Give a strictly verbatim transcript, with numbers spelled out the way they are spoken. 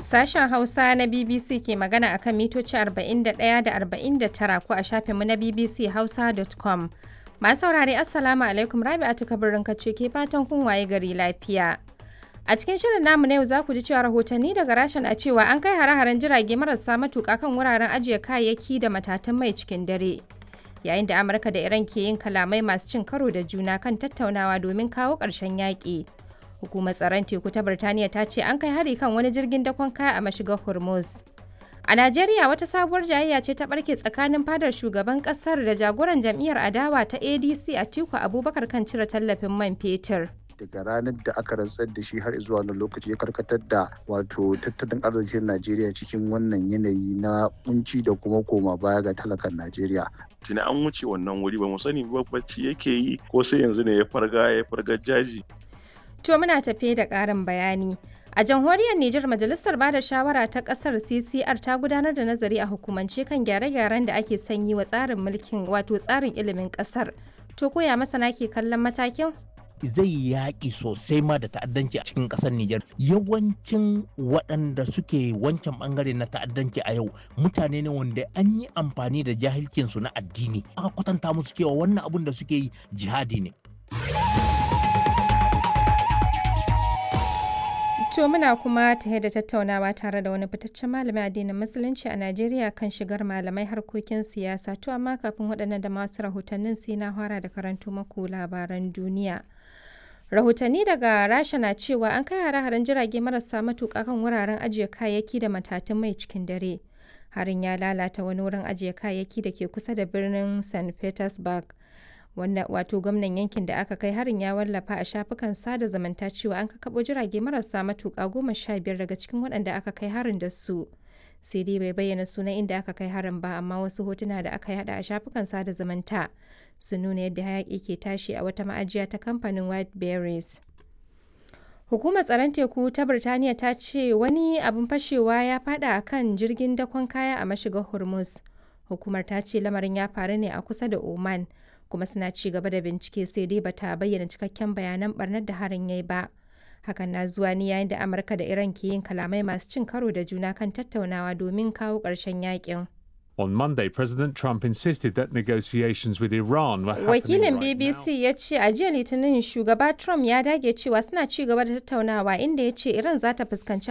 Sashen Hausa na B B C ke magana a kan mitoci arba'in da ɗaya da arba'in da tara ko a shafinmu na B B C Hausa dot com. Masu saurare, Assalamu alaikum, Rabi'atu Kabirin ce ke fatan kun waye gari lafiya. A cikin shirin namu na yau za ku ji cewa rahotanni daga Rasha na cewa an kai hare-haren jirage marasa matuƙa kan wuraren ajiye kayayyaki da matatan mai cikin dare. Yayin da Amurka da Iran ke yin kalamai masu cin karo da juna kan tattaunawa domin kawo ƙarshen yaƙi. Hukumar tsaron teku ta Birtaniya ta ce an kai hari kan wani jirgin dakon kaya a mashigar Hormuz. A Najeriya, wata sabuwar jayayya ce ta barke tsakanin fadar shugaban kasar da jagoran jam'iyyar adawa ta A D C Atiku Abubakar kan cire tallafin man fetur. Daga ranar da aka rantsar da shi har zuwa wannan lokaci, ya karkatar da wato tattalin arzikin Najeriya cikin wannan yanayi na kunci da kuma koma baya ga talakan Najeriya. Tuni an wuce wannan wuri, ba mu sani ba bacci yake yi ko sai yanzu ne ya farga ya farga jaji. To, muna tafe da ƙarin bayani. A jamhuriyar Nijar, Majalisar Bada Shawara ta ƙasar C C R ta gudanar da nazari a hukumance kan gyare-gyaren da ake son yi wa tsarin mulkin, wato tsarin ilimin ƙasar. To, koya masana ke kallon matakin? Zai yaƙi sosai ma da ta'addanci a cikin ƙasar Nijar. Yawancin waɗanda suke wancan ɓangare na ta'addanci a yau mutane ne wanda an yi amfani da jahilcinsu na addini. Aka kwatanta musu cewa wannan abun da suke yi jihadi ne. To, muna kuma tare da tattaunawa tare da wani fitaccen malamin addinin Musulunci a Najeriya kan shigar malamai harkokin siyasa. To, amma kafin waɗannan da masu rahotannin, sai na fara da karanto maku labaran duniya. Rahotanni daga Rasha na cewa an kai hare-haren jirage marasa matuƙa kan wuraren ajiye kayayyaki da matatun mai cikin dare. Harin ya lalata wani wurin ajiye kayayyaki da ke kusa da birnin Saint Petersburg. Wanda wato gwamnan yankin da aka kai harin ya wallafa a shafukan sada zumunta cewa an kakabo jirage marasa matuƙa goma sha biyar daga cikin waɗanda aka kai harin da su. Sai dai bai bayyana sunan inda aka kai harin ba, amma wasu hotuna da aka yada a shafukan sada zumunta sun nuna yadda hayaƙi ke tashi a wata ma'ajiya ta kamfanin White Berries. Hukumar tsaron teku ta Birtaniya ta ce wani abin fashewa ya fada a kan jirgin dakon kaya a mashigar Hormuz. Hukumar ta ce lamarin ya faru ne a kusa da Oman, kuma suna ci gaba da bincike, sai dai bata bayyana cikakken bayanan barnar da harin yayi ba. Hakan na zuwa ne yayin da Amurka da Iran ke yin kalamai masu cin karo da juna kan tattaunawa domin kawo ƙarshen yakin. On Monday, President Trump insisted that negotiations with Iran were happening Wakilin right B B C now. ya ce a jiya Litinin shugaba Trump ya dage cewa suna ci gaba da tattaunawa, inda ya ce Iran za ta fuskanci